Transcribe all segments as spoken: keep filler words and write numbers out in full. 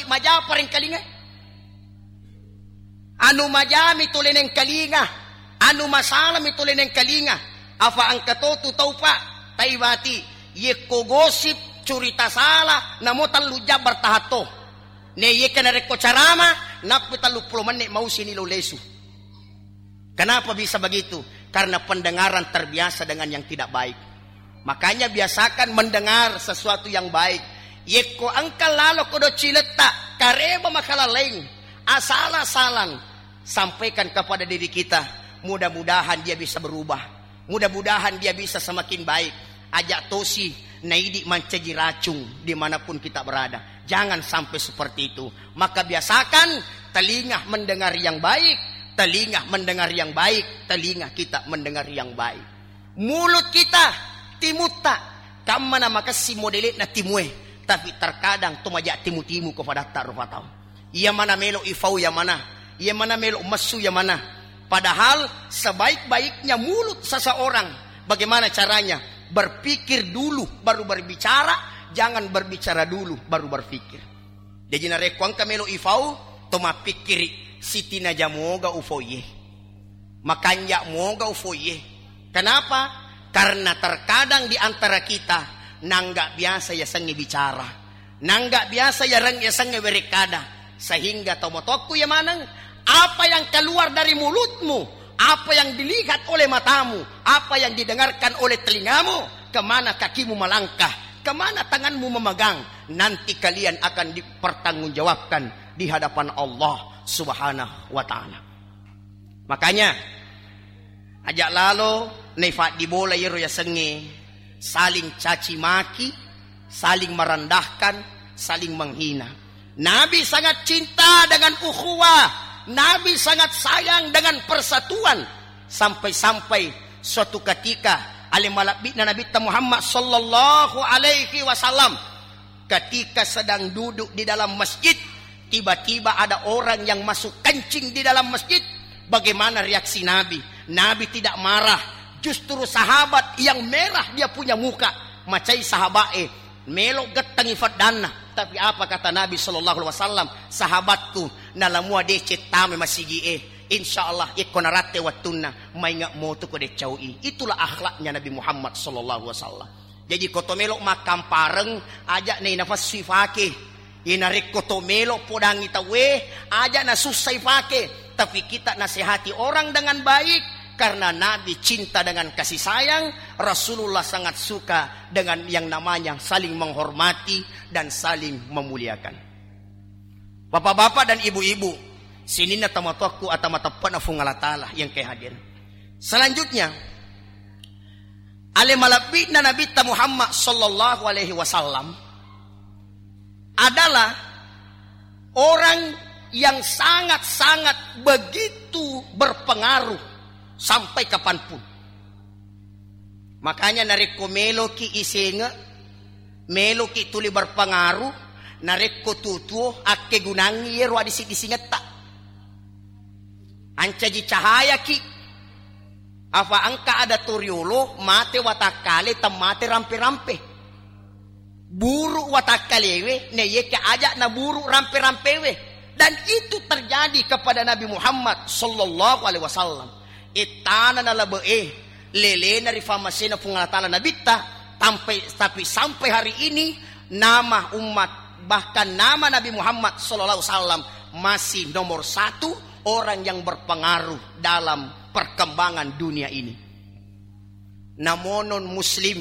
majapa rengkalinga. Anu majami tole nengkalinga, anu masalami tole nengkalinga. Afa engka to tu tau, Pak, taibati, yekko gosip, curita sala, namo tellu jam bertahan to. Ne yekka narekko carama, nappi telluppulo menit mausini lo lesu. Kenapa bisa begitu? Karena pendengaran terbiasa dengan yang tidak baik. Makanya biasakan mendengar sesuatu yang baik. Yekko engka lalo kodo ciletta, kareba makalalaing, asala-salang, sampaikan kepada diri kita. Mudah-mudahan dia bisa berubah. Mudah-mudahan dia bisa semakin baik. Ajak tosi naidi mancaji racung dimanapun kita berada. Jangan sampai seperti itu. Maka biasakan telinga mendengar yang baik, telinga mendengar yang baik, telinga kita mendengar yang baik. Mulut kita, timutta, kammana makessing modele'na timue, tapi terkadang to maja timu-timu ko padatta rupa tau. Iya mana melo ifau iya mana, iya mana melo messu iya mana. Padahal sebaik-baiknya mulut seseorang, bagaimana caranya? Berpikir dulu baru berbicara, jangan berbicara dulu baru berpikir. Jaji narekko engka melo ifau, to mappikkiri, sitinaja moga ufoiye. Makanja moga ufoiye. Kenapa? Karena terkadang di antara kita nangga biasa yasengnge bicara. Nangga biasa yareng yasengnge werekkada. Sehingga tomatoakku ya maneng, apa yang keluar dari mulutmu, apa yang dilihat oleh matamu, apa yang didengarkan oleh telingamu, kemana kakimu melangkah, kemana tanganmu memegang, nanti kalian akan dipertanggungjawabkan di hadapan Allah Subhanahu wa Ta'ala. Makanya, aja lalo naifaddi bola iyaro yasengnge saling caci maki, saling merendahkan, saling menghina. Nabi sangat cinta dengan ukhuwah, Nabi sangat sayang dengan persatuan, sampai-sampai suatu ketika ale malebbi'na Nabitta Muhammad sallallahu alaihi wasallam ketika sedang duduk di dalam masjid, tiba-tiba ada orang yang masuk kencing di dalam masjid. Bagaimana reaksi Nabi? Nabi tidak marah. Justru sahabat yang merah dia punya muka. Macai sahabat e, melo gettangi faddanna. Tapi apa kata Nabi sallallahu alaihi wasallam? Sahabatku, nalamua deceng tame masigi e. Insya Allah, ikko naratte wattunna, mainga motu ko deccau i. Itulah akhlaknya Nabi Muhammad sallallahu alaihi wasallam. Jaji, ko to melo makkampareng, aja nei nafassu ifake. Ye narekko to melo podangi tauwe, aja nasussa ifake. Tapi kita nasehati orang dengan baik, karena Nabi cinta dengan kasih sayang, Rasulullah sangat suka dengan yang namanya saling menghormati dan saling memuliakan. Bapak-bapak dan ibu-ibu, sininna tomatoakku atau mateppana Fuang Allah Ta'ala yang ke hadir. Selanjutnya, ale malebbi'na Nabitta Muhammad sallallahu alaihi wasallam adalah orang yang sangat-sangat begitu berpengaruh sampai kapanpun. Makanya narekko meloki isenge, meloki tuli berpengaruh, narekko tuo-tuo akkegunangngi iyero adisi-disingetta. Ancaji cahayaki. Afa engka ada toriolo mate watakkale temmate rampe-rampe. Buruk watakkalewe, naiyakia aja na buruk rampe-rampewe. Dan itu terjadi kepada Nabi Muhammad sallallahu alaihi wasallam. Ittana nalabe e, lelena ri famasena Fuang Allah Ta'ala Nabitta, tampai, tapi sampai hari ini nama umat, bahkan nama Nabi Muhammad sallallahu alaihi wasallam masih nomor satu orang yang berpengaruh dalam perkembangan dunia ini. Namo non muslim,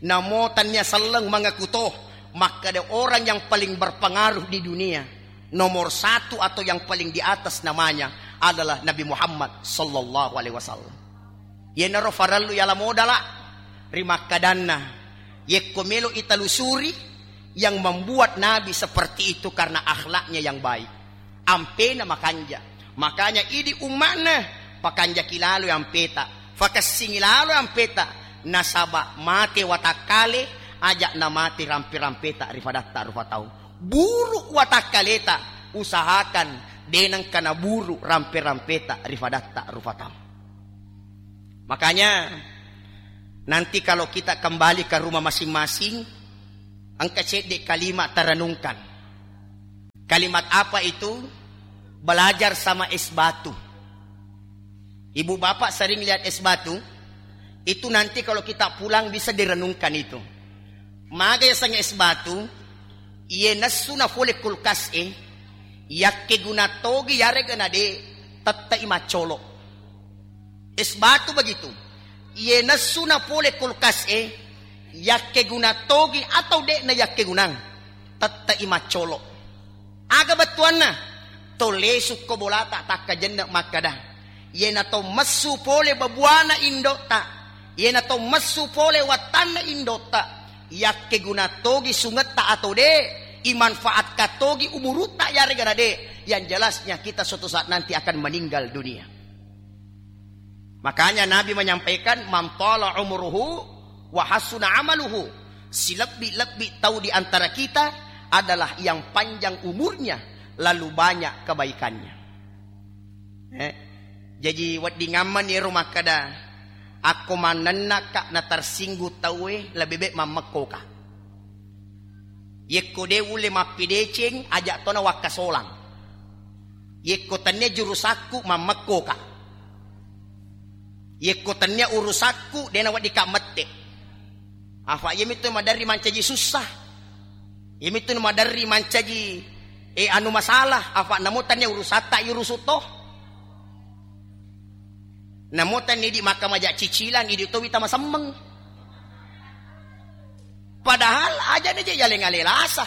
namo tania selleng mengaku to, makkeda orang yang paling berpengaruh di dunia, nomor satu atau yang paling di atas namanya adalah Nabi Muhammad sallallahu alaihi wasallam. Yenaro farellu yala modala ri makkadanna, yekko melo italusuri, yang membuat Nabi seperti itu karena akhlaknya yang baik. Ampena makanja. Makanya idi umma'na, pakanjaki lalo ampeta, fakessingi lalo ampeta, nasaba mate watakkale, aja namate rampe-rampeta ri fadatta rupa tau. Buruk watakkaleta, usahakan denengka naburu rampe-rampeta ri fadatta rupa tau. Makanya, nanti kalau kita kembali ke rumah masing-masing, engka cedde kalima tarenungkan. Kalimat apa itu? Belajar sama es batu. Ibu bapak sering lihat es batu? Itu nanti kalau kita pulang bisa direnungkan itu. Maga yaseng es batu, iye nessu na pole kulkas e, yakke guna togi yarega na de, tette i maccolo. Es batu begitu. Iye nessu na pole kulkas e, yakke guna togi atau de na yakke gunang, tette i maccolo. Aga bettuanna? To lesukko bolata takkajenne makkada, iyena to messu pole babuana indotta, iyena to messu pole wattanna indotta, yakkeguna togi sungetta atau de, imanfaatkan togi umurutta yarega na de, yang jelasnya kita suatu saat nanti akan meninggal dunia. Makanya Nabi menyampaikan, "Man tala umruhu wa hasuna amaluhu." Silebbi-lebbi tau di antara kita adalah yang panjang umurnya, lalu banyak kebaikannya. Eh, jaji weddingammenni ero makkada, akko mannennaka na tersinggung tauwe, lebih baik mammekkoka. Yekko de ulle mappideceng, ajak tona wakkasolang. Yekko tennia jurusakku, mammekkoka. Yekko tennia urusakku, dena weddika mette. Afa iyamitu maderri mancaji sussa. Iyamitu maderri mancaji, eh, anu masalah. Afa namo tennia urusatta irusu to. Namo tennia idi makkamaja cicilang, idi to wita masemmeng. Padahal aja na je yaleng ale lasa.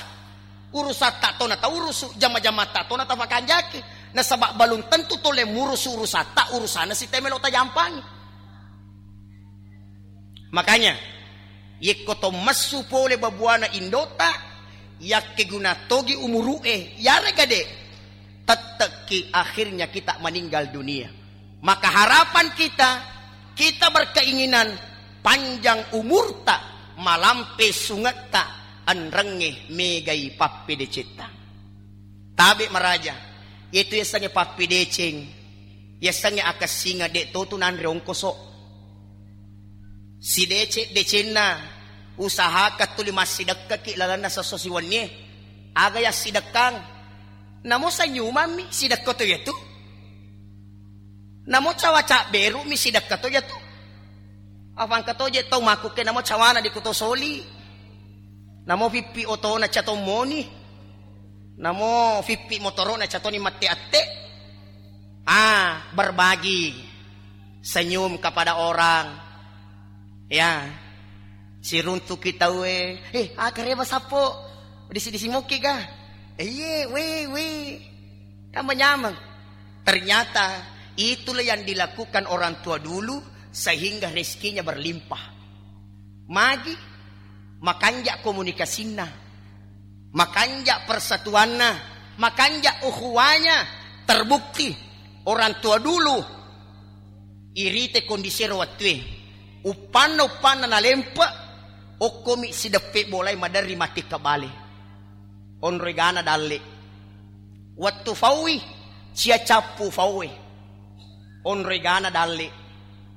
Urusatta to na taurusu, jama-jamatta to na tafakanjaki. Nasaba balum tentu tole murusu urusatta, urusanna siteme lo tajampangi. Makanya, yekko to messu pole babuana indota, yakkeguna togi umuru'e, yarega de, tettekki akhirnya kita meninggal dunia. Maka harapan kita, kita berkeinginan panjang umurta, malampe sungetta, enrengnge megai pappedecetta. Tabe maraja, yetu yasengnge pappedeceng, yasengnge akessingeng, de totu nanre ongkoso. Sideceng-decenna, usahakan tuli massidekkaki lalenna sesso siwennie. Aga yassidekkang? Namo senyumanmi sidekka to yatu. Namo cawa cabberumi sidekka to yatu. Afangka to je tau makkukke namo cawana di kuto soli. Namo fiffi otona catong moni. Namo fiffi motorona catoni matti atte. Ah, berbagi. Senyum kepada orang. Ya. Siruntuki tauwe, "Eh, ah, kareba sappo. Disi-disi moki ga?" "Eh, iye, we, we." Kan manyameng. Ternyata itulah yang dilakukan orang tua dulu sehingga rezekinya berlimpah. Magi makanja komunikasinna, makanja persatuanna, makanja ukhuwanya, terbukti orang tua dulu irite kondisi ero wattue. Uppanna-uppanna nalempe, okkomi sideppe bolai maderri mati kabale. Onro egana dalle. Wettu faui, cia cappu faue. Onro egana dalle.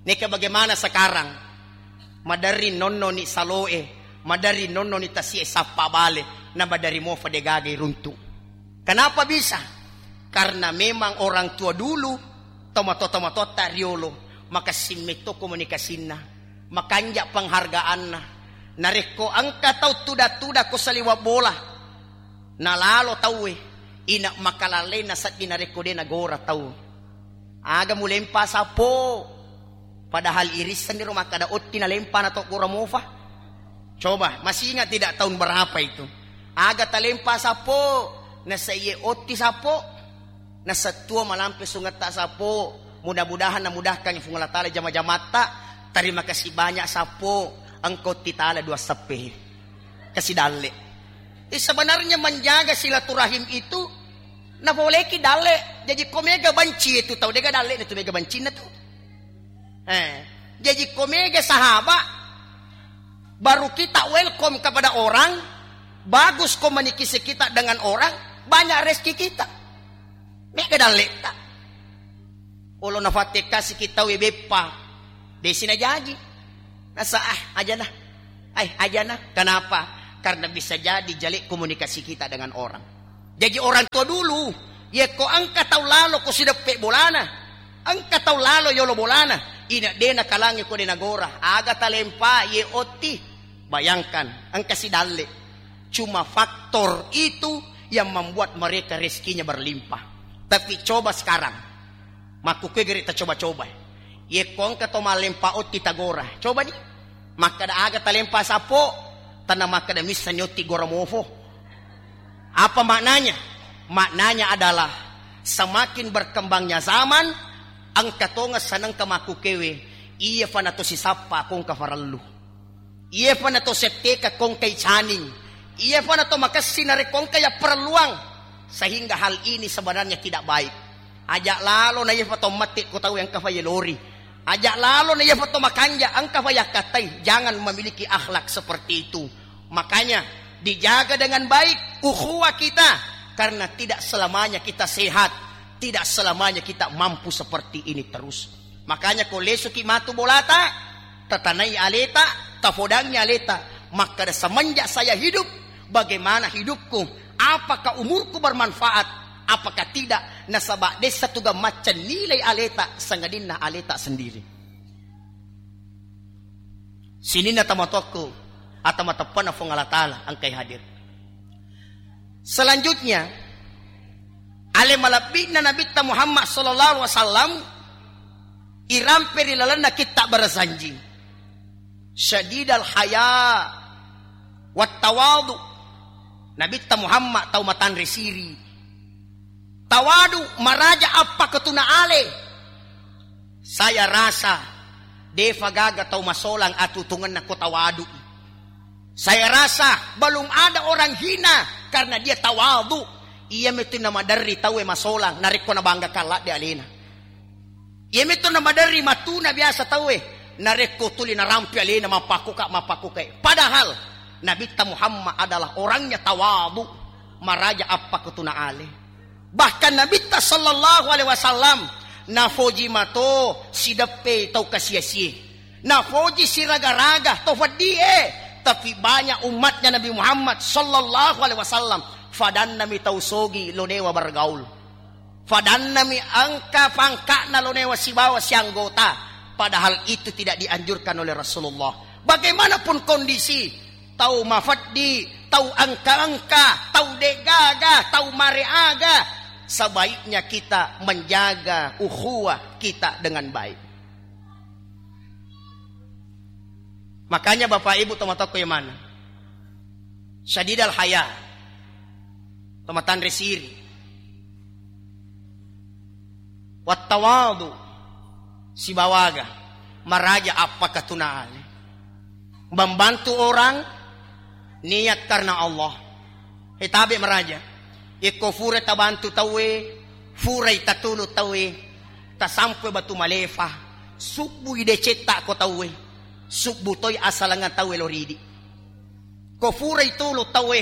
Neka bagaimana sekarang? Maderri nonnoni saloe, maderri nonnoni tasie sappa bale, na maderri mofa degaga iruntu. Kenapa bisa? Karena memang orang tua dulu, tomatoa-tomatoatta riolo, makessing metto komunikasinna, makanja penghargaanna. Narekko engka tau tuda-tuda ko saliweng bola, nalalo tauwe, ina makalallena seddi narekko de nagora tau. Aga mulempa sappo? Padahal irissenni ro makkada otti nalempa na to gora mofa. Coba, masih ingat tidak tahun berapa itu? Aga talempa sappo? Nasaiye otti sappo. Nasettua malampe sungetta sappo. Mudah-mudahan namudahkan Fuang Allah Ta'ala jama-jamatta. Terima kasih banyak sappo. Engkau titala dua seppe. Kasi dalle. Eh, sebenarnya menjaga silaturahim itu nafoleki dalle. Jaji ko mega banci itu tau, dega dalle itu mega bancinna tu. Eh, jaji ko mega sahabat, baru kita welcome kepada orang, bagus komunikasi kita dengan orang, banyak rezeki kita. Mega dalletta. Olo nafattekkasi ki tau e beppa, desi najaji. Nasa, ah, ajana. Ai, ajana. Kenapa? Karena bisa jadi jale komunikasi kita dengan orang. Jaji orang tua dulu, yekko engka tau lalo ko sideppe bolana, engka tau lalo yolo bolana, ina de nakalangi ko de nagora, aga talempa ye otti. Bayangkan, engka sidalle. Cuma faktor itu yang membuat mereka rezekinya berlimpah. Tapi coba sekarang, makkukue gere tacoba-coba. Yekko engka to malempa otti tagora. Coba ni. Makkeda aga talempa sappo, tanna makkeda missa nyotti gora mofo. Apa maknanya? Maknanya adalah semakin berkembangnya zaman, engka tonga sanengka makkukewe, iya fana to sisappa kongka farellu. Iya fana to setteka kongkai caning. Iya fana to makessi narekko engka yapparelluang. Sehingga hal ini sebenarnya tidak baik. Aja lalo na iya fa to mette ko tau engka fa yelori. Aja lalo na iya fa to makanja engka fa yakkatai. Jangan memiliki akhlak seperti itu. Makanya dijaga dengan baik ukhuwah kita, karena tidak selamanya kita sehat, tidak selamanya kita mampu seperti ini terus. Makanya ko lesuki matu bolata, tatanai aleta, tafodangi aleta, makkeda semenjak saya hidup, bagaimana hidupku, apakah umurku bermanfaat, apakah tidak, nasaba dessa tuga macca nilai aleta, sangadinna aleta sendiri. Sininna tomatoakku, atau mateppana Fuang Allah Ta'ala engkai hadir. Selanjutnya, ale malebbi'na Nabitta Muhammad sallallahu alaihi wasallam irampe ri lalenna kitta barasanji. Syadidal haya wat tawadu. Nabitta Muhammad tau matanre siri. Tawadu, maraja appakatuna ale. Saya rasa defa gaga tau masolang atutungenna ko tawadu. Saya rasa belum ada orang hina karena dia tawadu. Iya metu namaderri tauwe masolang narekko nabangga kalladde alena. Iya metu namaderri matuna biasa tauwe narekko tuli narampi alena mappakuka mappakuka. Padahal Nabitta Muhammad adalah orangnya tawadu, maraja appakatuna ale. Bahkan Nabitta sallallahu alaihi wasallam nafoji mato sideppe tau kasiasie. Nafoji siraga-raga to feddie, tapi banyak umatnya Nabi Muhammad sallallahu alaihi wasallam fadannami tau sogi lonewa bergaul. Fadannami engka pangka'na lonewa sibawa sianggota, padahal itu tidak dianjurkan oleh Rasulullah. Bagaimanapun kondisi, tau mafeddi, tau engka-engka, tau degaga, tau mareaga, sebaiknya kita menjaga ukhuwah kita dengan baik. Makanya Bapak Ibu tomatoakku yang mana? Syadidal haya. Tomatanre siri. Wattawadu. Sibawaga. Maraja appakatuna ale. Membantu orang niat karena Allah. He tabe maraja. Yekko fura tabantu tauwe, furai tatulu tauwe, tasampe batu malefa, subbui decetta ko tauwe, subbu toi asalangan tauwe loridi. Ko furai tulu tauwe,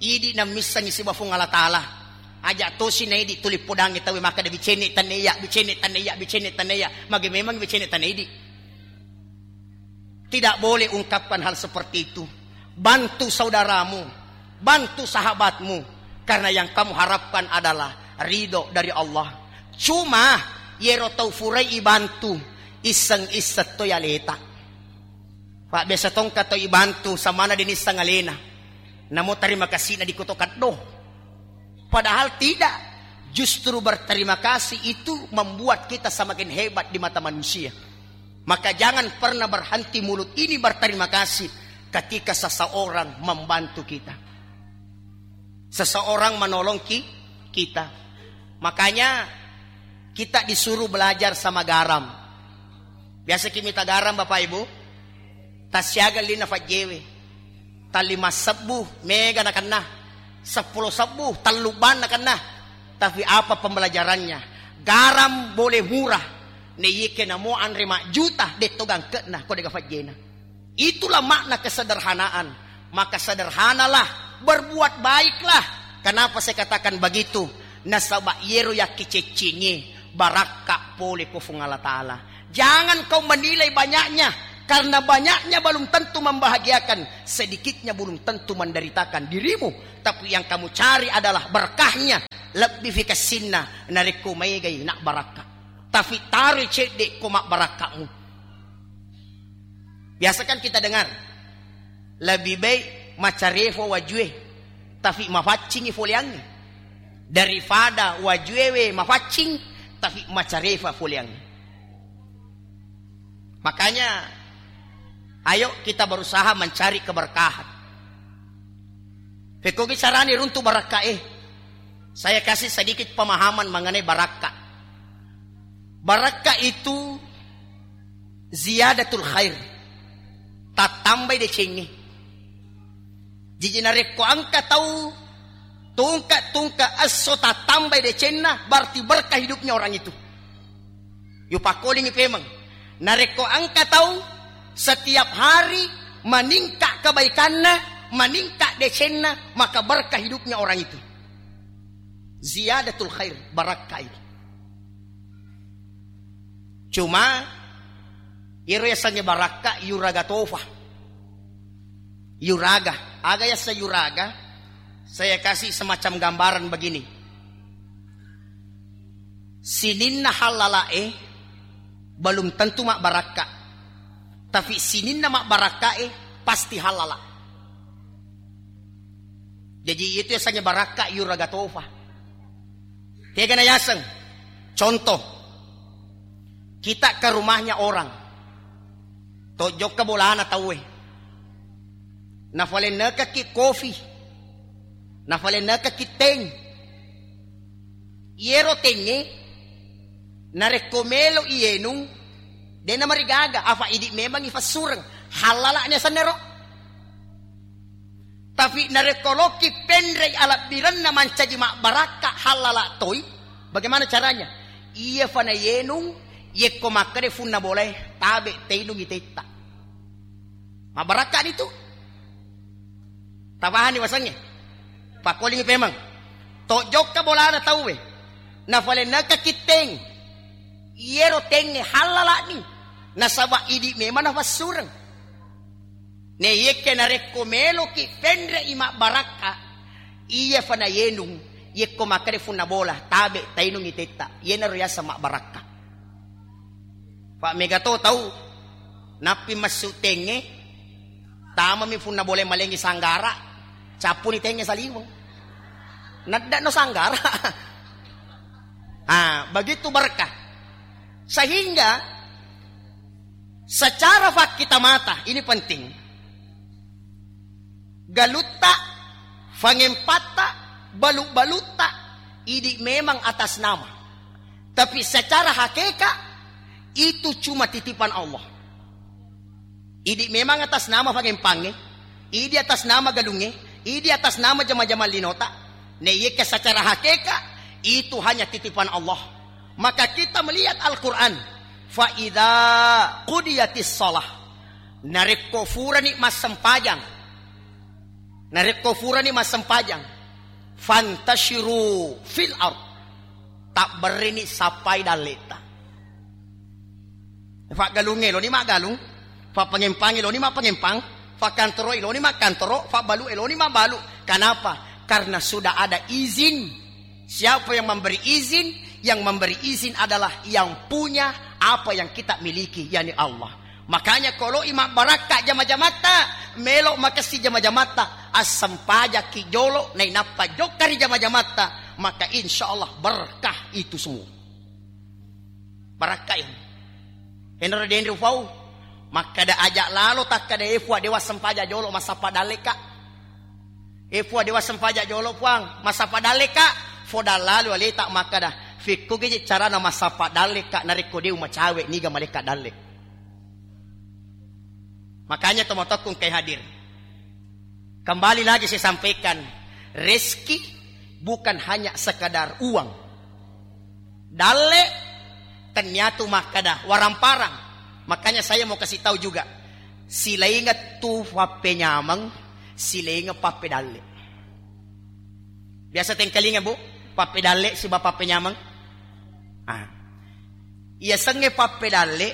idi nammissengi siba Fuang Allah Ta'ala. Aja tosi naidi tuli podangi tauwe makkeda bicene tanne iya, bicene tanne iya, bicene tanne iya. Mage memang bicene tanne idi. Tidak boleh ungkapkan hal seperti itu. Bantu saudaramu, bantu sahabatmu, karena yang kamu harapkan adalah ridho dari Allah. Cuma, yero tau furai ibantu, isseng-isseng to yaleta. Pak, biasa tongka to ibantu, samana denisseng alena. Namo terima kasih na dikoto kaddo. Padahal tidak. Justru berterima kasih itu membuat kita semakin hebat di mata manusia. Maka jangan pernah berhenti mulut ini berterima kasih ketika seseorang membantu kita. Seseorang menolong ki-, kita. Makanya kita disuruh belajar sama garam. Biasa ki mita garam Bapak Ibu? Tassiaga lina fajjewe. Tallima sebbu mega nakenna, seppulo sebbu tellubang nakenna. Tapi apa pembelajarannya? Garam boleh murah, naiyeke namo anre majjuta, detto gangkena ko dega fajjena. Itulah makna kesederhanaan. Maka sederhanalah, berbuat baiklah. Kenapa saya katakan begitu? Nasaba yero yakkiceccingi barakka pole ko Fuang Allah Ta'ala. Jangan kau menilai banyaknya, Karena banyaknya belum tentu membahagiakan, sedikitnya belum tentu menderitakan dirimu. Tapi yang kamu cari adalah berkahnya, lebbi fikassinna narekko maegai nak barakka. Tapi taroi cedde ko mabbarakkamu. Biasa kan kita dengar, lebih baik macarefa wajue, tapi mafaccingi foleangnge, daripada wajuewe mafaccing, tapi macarefa foleangnge. Makanya, ayo kita berusaha mencari keberkahan. Fekkogi carani runtu barakka e. Saya kasih sedikit pemahaman mengenai barakka. Barakka itu ziyadatul khair. Tattambai decengnge. Jaji narekko engka tau tungka-tungka esso tattambai decenna, berarti berkah hidupnya orang itu. Yupakkolingi pemeng. Narekko engka tau setiap hari meningkat kebaikanna, meningkat decenna, maka berkah hidupnya orang itu. Ziyadatul khair, barakka itu. Cuma, iyaro yasengnge barakka yuraga tofa. Yuraga. Aga yassa yuraga? Saya kasih semacam gambaran begini. Sininna hallala'e belum tentu mabbarakka. Tapi sininna mabbarakkae pasti hallala. Jaji, itu yasengnge barakka yuraga tofa. Tegana yaseng. Contoh, kita ke rumahnya orang. Tojokka bolana tauwe. Nafalennekaki kofi. Nafalennekaki teng. Iyero tengnge, narekko melo iyenung, dena marigaga, afa idi memang ifassureng. Hallala'ni asennero. Tapi narekko lokki penrei alabbirenna mancaji mabbarakka, hallala toi. Bagaimana caranya? Iya fana yenung, yekko makkeda funna bolae, tabe teinung itetta. Mabbarakka nitu. Tapahani wasengnge? Pakkolingi pemeng. Tojokka bolana tauwe. Nafalenneka kitteng. Iyero tengnge hallala'ni. Nasaba idi memang nafassureng. Naiyakke narekko meloki penre'i mabbarakka, iya fana yenung, yekko makkeda funna bola, tabe tainungi tetta. Iyanaro yaseng mabbarakka. Fa mega to tau nappi messu tengnge, tamami funna bola malengi sanggara, cappuni tengnge saliweng. Nadda no sanggara. Ah, begitu berkah. Sehingga secara fakta mata, ini penting. Galutta, fangempatta, balu-balutta, idi memang atas nama. Tapi secara hakikat, itu cuma titipan Allah. Idi memang atas nama fangempangnge, idi atas nama galungnge, idi atas nama jama-jama linota. Naiyakke secara hakikat, itu hanya titipan Allah. Maka kita melihat Al-Quran. Fa idza qudiyatis shalah. Narekko furani massempajang. Narekko furani massempajang. Fantashiru fil ard. Tabberrini sappai dalletta. Faggalungnge loni maggalung, fapangempangnge loni mappangempang, fakkantoroe loni makkantoro, fabbalu'e loni mabbalu. Kenapa? Karena sudah ada izin. Siapa yang memberi izin? Yang memberi izin adalah yang punya apa yang kita miliki, yakni Allah. Makanya kalau imam barakka jama-jamatta, melo makessi jama-jamatta, assempajakki jolo, nainappa jokka ri jama-jamatta, maka insya Allah berkah itu semua. Barakkai. Enro denri ufau. Makkada aja lalo takkada, "E Fua, dewa sempajang jolo, massappa dalleka. E Fua, dewa sempajang jolo, Puang, massappa dalleka." Fodang lalo aleta makkada, "Fekko geje carana massappa dalleka narekko dewa macawe niga maleka dalle." Makanya tomatokkung kai hadir. Kembali lagi saya sampaikan, rezeki bukan hanya sekadar uang. Dalle, tenniatu makkada, waramparang. Makanya saya mau kasih tahu juga, silainga tu pappenyameng, silainga pappedalle. Biasa tengkalinga, Bu, pappedalle siba pappenyameng. Ah. Iya sengnge pappedalle,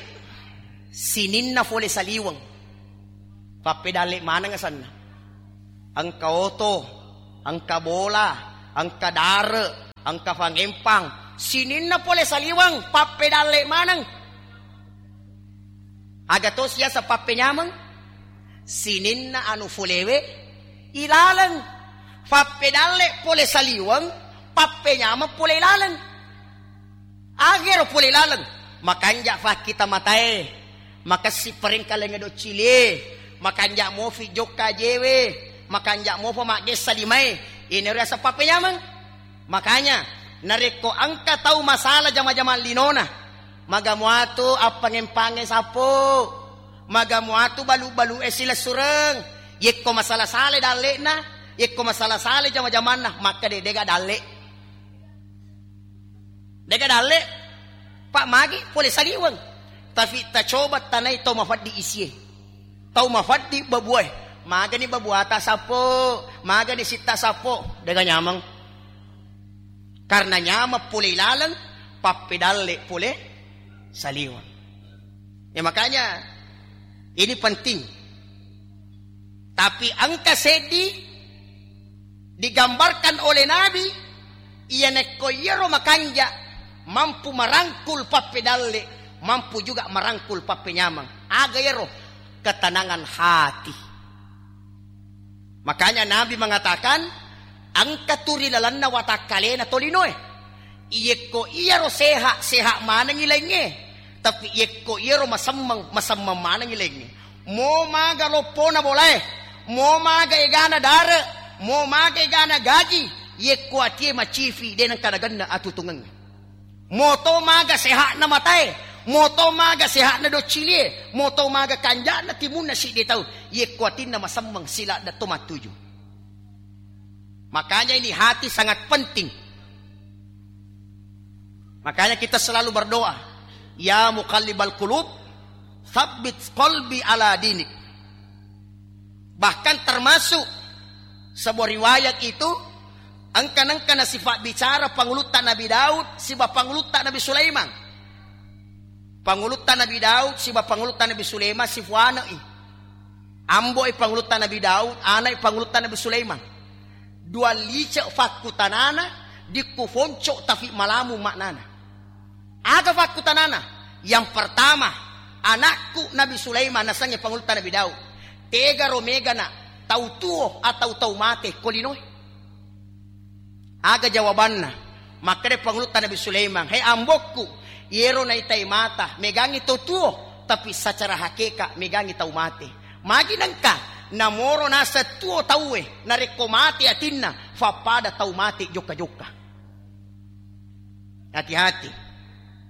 Sininna fole saliweng, pappedalle maneng asenna. Engka oto, engka bola, engka dare, engka fangempang. Sininna pole saliweng, pappedalle maneng. Aga to siasa pappenyameng? Sininna anu folewe ilaleng. Pappedalle pole saliweng, pappenyameng pole ilaleng. Agero pole laleng, makanja fakkita matae, makessi parengkalengnge doccilie, makanja mofi jokka jewe, makanja mofa maggessa limae, inero yaseng pappenyameng. Makanya, narekko engka tau masala jama-jamang linona, maga muatu appangempange sappo, maga muatu balu-balue silessureng, yekko masala-sale dalle'na, yekko masala-sale jama-jamanna, makkeda dega dalle. Dega dalle, Pak, magi pole saliweng. Tapi tacoba tanai tau mafaddi isie. Tau mafaddi babuae. Magani babuata sappo, magani sitta sappo. Dega nyameng. Karena nyameng pole ilaleng, pappedalle pole saliweng. Ya, makanya ini penting. Tapi engka seddi digambarkan oleh Nabi, iya nekko iyaro makanja mampu marangkul pappedalle, mampu juga marangkul pappenyameng. Aga iyaro? Ketenangan hati. Makanya Nabi mengatakan, engka tu ri lalenna watakkalena tolinoe. Iyekko iyaro seha, seha manengngi laingnge. Tapi iyekko iyaro masemmeng, masemmeng manengngi laingnge. Mo maga loppona bolae, mo maga egana dare, mo maga egana gaji, iyekko atie macifi, de nengka nagenna atutungengnge. Moto maga seha'na matae, moto maga seha'na doccilie, moto maga kanja'na timunna siddi tau, yekko atinna masemmeng siladda to mattuju. Makanya ini hati sangat penting. Makanya kita selalu berdoa, "Ya muqallibal qulub, tsabbit qalbi ala dinik." Bahkan termasuk sebuah riwayat itu, engka-, nengka nasifat bicara pangulutta Nabi Daud siba pangulutta Nabi Sulaiman. Pangulutta Nabi Daud siba pangulutta Nabi Sulaiman sifuane'i. Ambo'i pangulutta Nabi Daud, ana'i pangulutta Nabi Sulaiman. Dua lice fakkutanana, dikku fonco tapi malamu maknana. Aga fakkutanana? Yang pertama, anakku Nabi Sulaiman nasengnge pangulutta Nabi Daud. Tegaro megana tau tuo atau tau mate ko linoe? Aga jawabanna? Makkeda pangulutta Nabi Sulaiman, "He ambokku, yero naitai mata, megangngi tau tuo, tapi secara hakeka megangngi tau mate." Magi nengka, namoro naseng tuo tauwe, narekko mate atinna, fappada tau mate jokka-jokka. Hati-hati.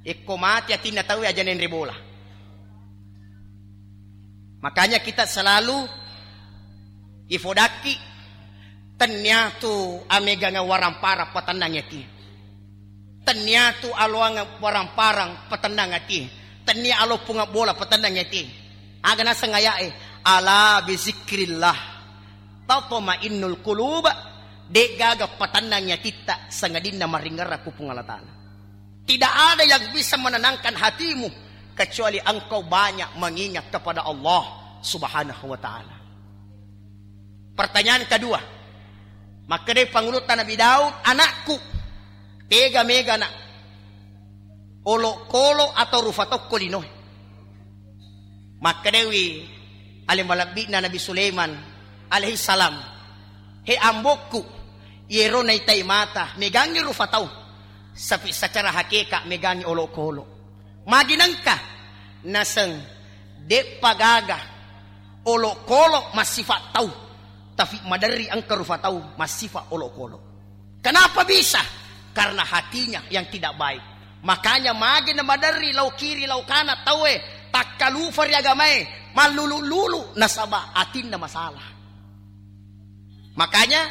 Ekko mate atinna tauwe aja nenre bola. Makanya kita selalu ifodakki, tennia tu amegangang waramparang patennang ati. Tennia tu aloangang waramparang patennang ati. Tennia aloppungeng bola patennang ati. Aga naseng aya'e, "Ala bizikrillah tatmainnul qulub." De'gaga patennangi atitta sangadinna maringerra ku Puang Allah Ta'ala. Tidak ada yang bisa menenangkan hatimu kecuali engkau banyak mengingat kepada Allah Subhanahu wa Ta'ala. Pertanyaan kedua, makkedai pangulutta Nabi Daud, "Anakku, tega mega nak, olokolo atau rufa tokko linoe?" Makkedaiwi ale malebbi'na Nabi Sulaiman alaihissalam, "He ambokku, yero naitai mata megangngi rufa tau, sapi secara hakeka megangngi olokolo." Magi nengka? Naseng de'pa gaga olokolo massifa tau, tapi maderri engka rufa tau massifa olokolo. Kenapa bisa? Karena hatinya yang tidak baik. Makanya magi na maderri lao kiri lao kana tauwe, takkalufa ri agamae, mallulu-lulu nasaba atinna masalah. Makanya,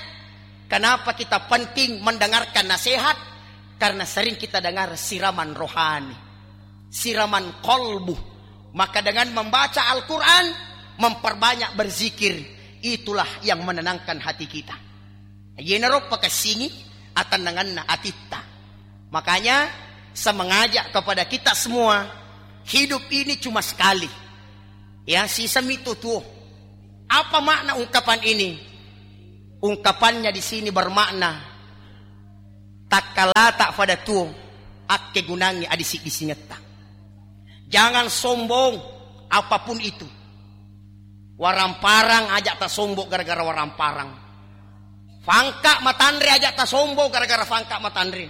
kenapa kita penting mendengarkan nasihat? Karena sering kita dengar siraman rohani, siraman kolbu. Maka dengan membaca Al-Quran, memperbanyak berzikir, itulah yang menenangkan hati kita. Yenaro pakessingi atennanganna atitta. Makanya, saya mengajak kepada kita semua, hidup ini cuma sekali. Ya, sisami tu tuo. Apa makna ungkapan ini? Ungkapannya di sini bermakna, takkalata pada tuo, akkegunangngi adisi-disingetta. Jangan sombong apapun itu. Waramparang aja tasombong gara-gara waramparang. Fangka matanre aja tasombong gara-gara fangka matanre.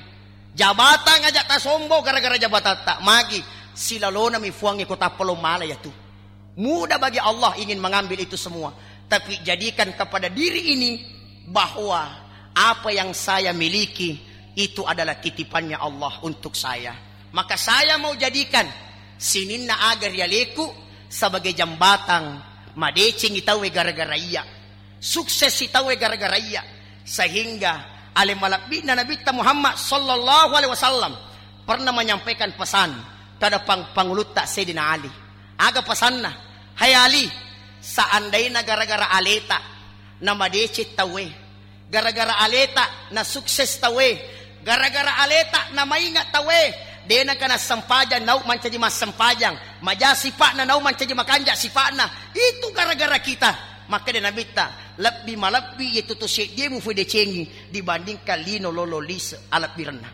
Jabatang aja tasombong gara-gara jabatatta. Magi, silalonami Fuangnge ko tappa lo mala yatu. Mudah bagi Allah ingin mengambil itu semua. Tapi jadikan kepada diri ini bahwa apa yang saya miliki itu adalah titipannya Allah untuk saya. Maka saya mau jadikan sininna aga ri aleku sebagai jembatang madecengi tauwe gara-gara iya. Suksesi tauwe gara-gara iya. Sehingga ale malebbi'na Nabitta Muhammad sallallahu alaihi wasallam pernah menyampaikan pesan kepada pang-, pangulutta Sayyidina Ali. Aga pesanna? Hai Ali, seandaina gara-gara aleta na madeceng tauwe, gara-gara aleta na sukses tauwe, gara-gara aleta na mainga tauwe, de nengka nassempajang nau mancaji massempajang, maja sipa'na nau mancaji makanja sipa'na, itu gara-gara kita. Makkeda Nabitta, lebbi malebbi yetu to seddie mufu decengi dibandingkan lino lolo lise alebbirenna.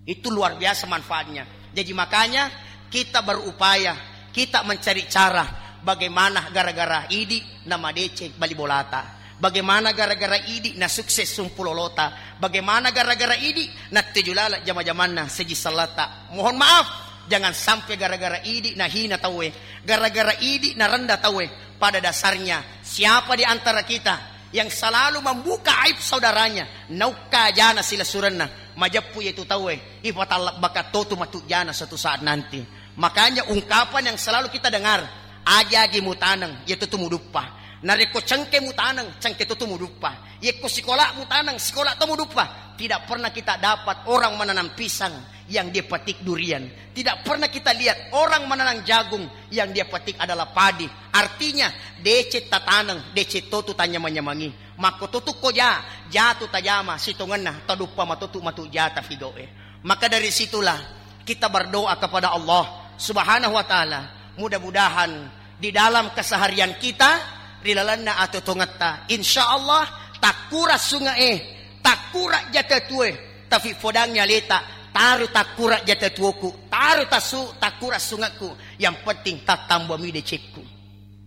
Itu luar biasa manfaatnya. Jadi makanya kita berupaya, kita mencari cara bagaimana gara-gara idi na madeceng bali bolata. Bagaimana gara-gara idi na sukses sumpulolota. Bagaimana gara-gara idi na tuju laleng jama-jamanna seji sellata. Mohon maaf, jangan sampai gara-gara idi na hina tauwe, gara-gara idi na rendah tauwe. Pada dasarnya, siapa di antara kita yang selalu membuka aib saudaranya, naukka jana silessurenna, majeppu yetu tauwe, ipatallebbakan totu matu jana suatu saat nanti. Makanya ungkapan yang selalu kita dengar, agi-agi mutaneng, yetu tu muduppa. Narekko cengke mutaneng, cengke totu muduppa. Yekko sikola mutaneng, sikola to muduppa. Tidak pernah kita dapat orang menanam pisang yang dia petik durian. Tidak pernah kita lihat orang menanam jagung yang dia petik adalah padi. Artinya, deceng tataneng, deceng totu tanyamang-nyamangi. Makko totu ko ja, jatu tajama, sitongenna, taduppa matotu matu jata figoe. Maka dari situlah kita berdoa kepada Allah Subhanahu wa Ta'ala. Mudah-mudahan di dalam keseharian kita, ri lalenna atotongetta, insya Allah, takkura sunge'e, takkura jata tue, tafi fodangngi aleta, taru takkura jata tuoku, taru tasu, takkura sungekku, yang penting tattambami decekku.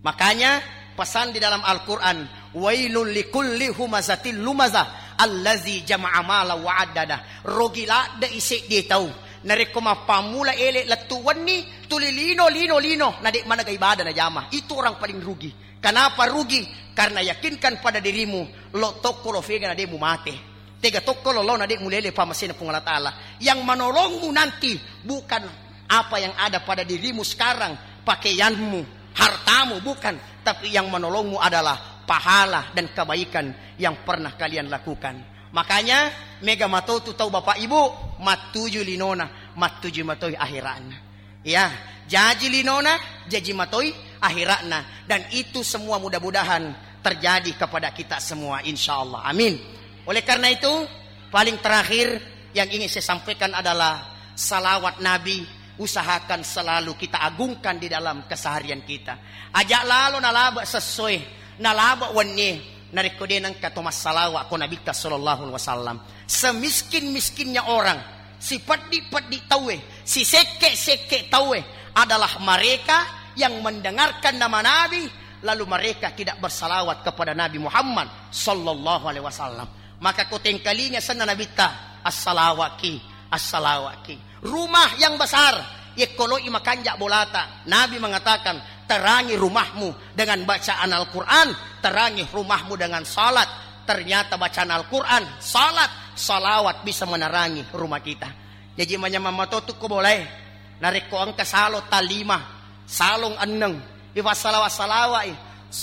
Makanya, pesan di dalam Al-Quran, "Wailul likulli humazatil lumazah, allazi jama'a mala wa addada." Rogi ladde iseddie tau. Narekko mappammula ele lettu wenni, tuli lino, lino, lino, na de manega ibadah najama. Itu orang paling rugi. Kenapa rugi? Karena yakinkan pada dirimu, lo tokko lo fega na de mumate. Tega tokko lo, lo na de mulele pamasena Puang Allah Ta'ala. Yang menolongmu nanti bukan apa yang ada pada dirimu sekarang, pakaianmu, hartamu, bukan. Tapi yang menolongmu adalah pahala dan kebaikan yang pernah kalian lakukan. Makanya, mega matotu tau bapak ibu, mattuju linona, mattuju matoi akhiratna. Ya, jaji linona, jaji matoi akhiratna. Dan itu semua mudah-mudahan terjadi kepada kita semua, insya Allah. Amin. Oleh karena itu, paling terakhir yang ingin saya sampaikan adalah salawat Nabi, usahakan selalu kita agungkan di dalam keseharian kita. Aja lalo nalaba sessoe, nalaba wennie, narekko de nengka to massalawa ko Nabitta sallallahu alaihi wasallam. Semiskin-miskinnya orang, sipeddi-peddi tauwe, sisekke-sekke tauwe adalah mereka yang mendengarkan nama Nabi, lalu mereka tidak bersalawat kepada Nabi Muhammad sallallahu alaihi wasallam. Maka ko tengkalinga senna Nabitta, assalawaki, assalawaki. Rumah yang besar, yekko loi makanja bolata. Nabi mengatakan, terangi rumahmu dengan bacaan Al-Quran, terangi rumahmu dengan salat. Ternyata bacaan Al-Quran, salat, salawat bisa menerangi rumah kita. Jaji manyamang matotu ko bolae. Narekko engka salo talima, salong enneng, ifassalawa-salawai,